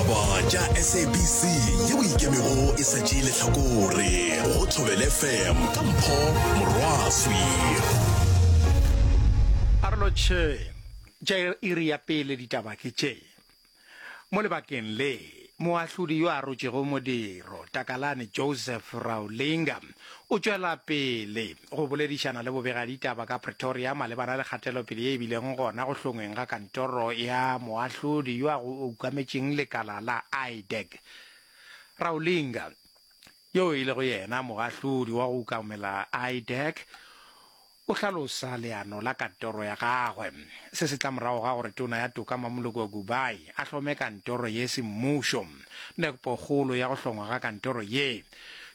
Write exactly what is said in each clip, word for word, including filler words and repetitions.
Ditaba tša S A B C yeo ikemego e sa tšee lehlakore go Thobela F M ka Mpho Morwaswi. Arolotšhe tša iri ya pele ditaba ke tše. Mo lebakeng le, moahlodi yo a rotšego modiro Takalane Joseph Raulinga o tšwela pele go boledišana le bobegaditaba ka Pretoria malebana le kgatelopele ye e bileng gona go hlongweng ga kantoro ya moahlodi yo a go ukametšeng lekala la I D E C. Raulinga, yo e lego yena moahlodi wa go ukamela I D E C, o hlalosa leano la kantoro ya gagwe. Se se tla morago ga gore tona ya toka Mmamoloko Kubayi a hlome kantoro ye semmušo. Nepokgolo ya go hlongwa ga kantoro ye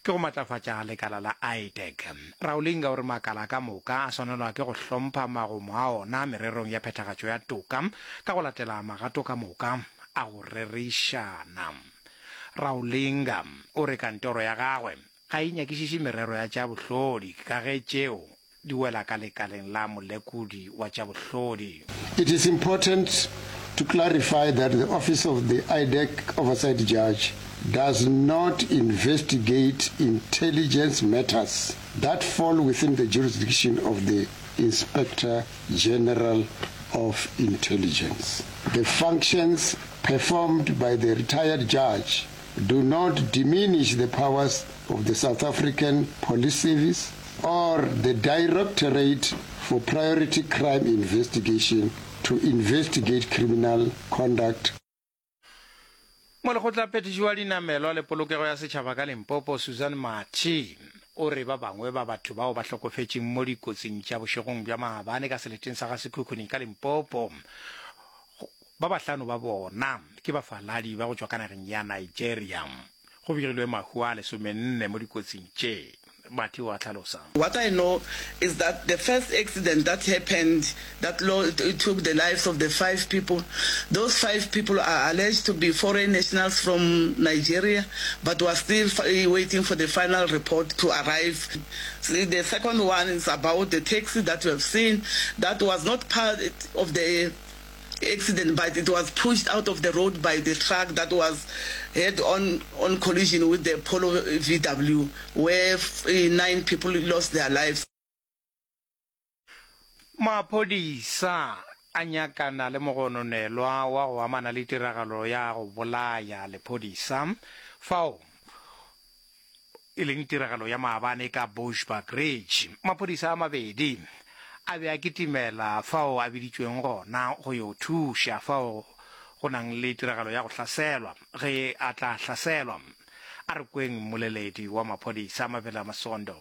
ke go matlafatša lekala la I D E C. Raulinga o re makala ka moka a swanelwa ke go hlompha magomo a ona mererong ya phethagatšo ya toka ka go latela magato ka moka a go rerišana. Raulinga o re kantoro ya gagwe ga e nyakišiše merero ya tša bohlodi ka ge tšeo di wela ka lekaleng la molekodi wa tša bohlodi. It is important to clarify that the Office of the I D E C Oversight Judge does not investigate intelligence matters that fall within the jurisdiction of the Inspector General of Intelligence. The functions performed by the retired judge do not diminish the powers of the South African Police Service or the Directorate for Priority Crime Investigation to investigate criminal conduct. Molekgotlaphethiši wa dinamelwa le polokego ya setšhaba ka Limpopo, Susan Mathe, o re ba bangwe ba batho bao ba hlokofetšeng mo dikotsing tša bošegong bja maabane ka seleteng sa ga Sekhukhune ka Limpopo, ba bahlano ba bona ke bafaladi ba go tšwa ka nageng ya Nigeria. Go begilwe mahu a lesomenne mo dikotsing tše. Mathe wa hlalosa. What I know is that the first accident that happened that lo- took the lives of the five people, those five people are alleged to be foreign nationals from Nigeria, but we're still f- waiting for the final report to arrive. See, the second one is about the taxi that we have seen that was not part of the accident, but it was pushed out of the road by the truck that was head on on collision with the Polo V W, where f- eh, nine people lost their lives. Maphodisa a nyakana le mogononelwa wa go amana le tiragalo ya go bolaya lephodisa fao e leng tiragalo ya maabane ka Bushbuckridge. Maphodisa a mabedi a be a kitimela fao a biditšweng gona go yo thuša fao go nang le tiragalo ya go hlaselwa ge a tla hlaselwa. A re kweng mmoleledi wa maphodisa, Mavela Masondo.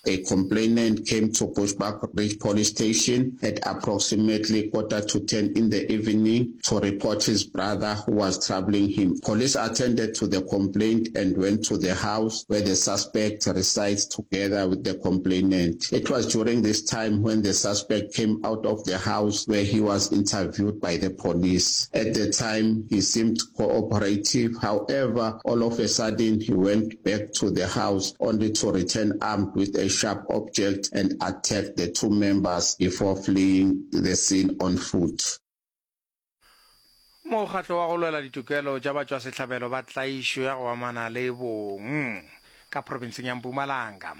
A complainant came to Bushbuckridge Police Station at approximately quarter to ten in the evening to report his brother who was troubling him. Police attended to the complaint and went to the house where the suspect resides together with the complainant. It was during this time when the suspect came out of the house where he was interviewed by the police. At the time, he seemed cooperative. However, all of a sudden, he went back to the house only to return armed with a sharp object and attacked the two members before fleeing the scene on foot. Mokgatlo wa go lwela ditokelo tša batšwasehlabelo ba tlaišo ya go amana le bong ka profenseng ya Mpumalanga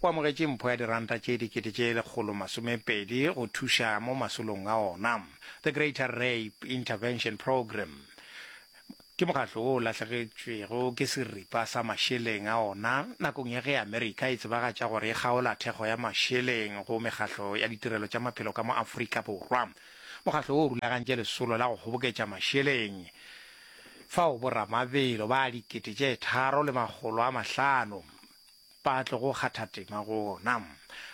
o amogetše mpho ya diranta tše dikete tše lekgolo masomepedi go thuša mo masolong a ona. The Greater Rape Intervention Program ke mokgatlo wo o lahlegetšwego ke seripa sa mašeleng a ona nakong ya ge Amerika e tsebagatša gore e kgaola thekgo ya mašeleng go mekgatlo ya ditirelo tša maphelo ka mo Afrika Borwa. Mokgatlo wo o rulagantše lesolo la go kgoboketša mašeleng fao boramabelo ba dikete tše tharo le makgolo a mahlano ba tlogo kgatha tema go ona.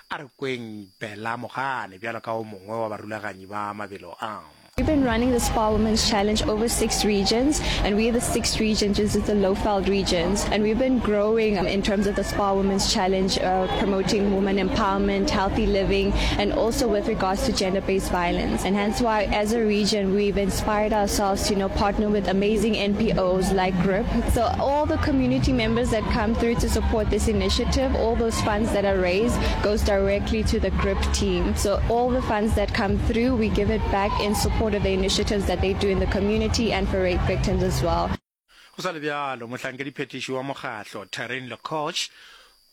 A re kweng Bella Mogane bjalo ka o mongwe wa barulaganyi ba mabelo a. We've been running the Spar Women's Challenge over six regions, and we're the sixth region, which is the Lowveld regions. And we've been growing in terms of the Spar Women's Challenge, uh, promoting women empowerment, healthy living, and also with regards to gender-based violence. And hence why, as a region, we've inspired ourselves to, you know, partner with amazing N P Os like GRIP. So all the community members that come through to support this initiative, all those funds that are raised goes directly to the GRIP team. So all the funds that come through, we give it back in support all of the initiatives that they do in the community and for rape victims as well. Go sa le bjalo, mohlankediphethiši wa mokgatlo, Taryn Lecoch,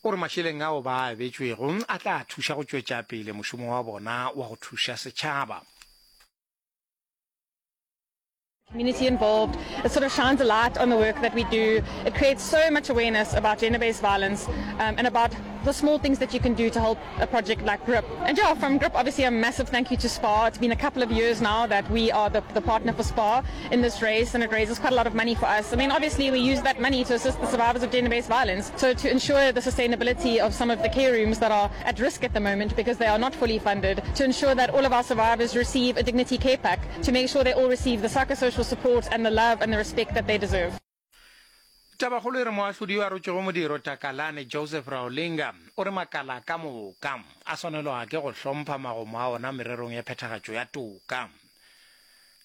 o re mašeleng ao ba a abetšwego a tla thuša go tšwetša pele mošomo wa bona wa go thuša setšhaba. Community involved. It sort of shines a light on the work that we do. It creates so much awareness about gender-based violence um, and about the small things that you can do to help a project like GRIP. And yeah, from GRIP, obviously a massive thank you to SPAR. It's been a couple of years now that we are the, the partner for SPAR in this race, and it raises quite a lot of money for us. I mean, obviously we use that money to assist the survivors of gender-based violence. So to ensure the sustainability of some of the care rooms that are at risk at the moment because they are not fully funded, to ensure that all of our survivors receive a dignity care pack, to make sure they all receive the psychosocial support and the love and the respect that they deserve. Tabakgolo e re moahlodi yo a rotšego modiro Takalane Joseph Raulinga o re makala ka moka a swanelwa ke go hlompha magomo a ona mererong ya phethagatšo ya toka.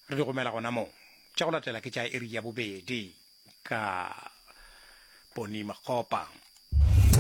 Re di gomela gona mo. Tša go latela ke tša iri ya bobedi ka Poni Makgopa.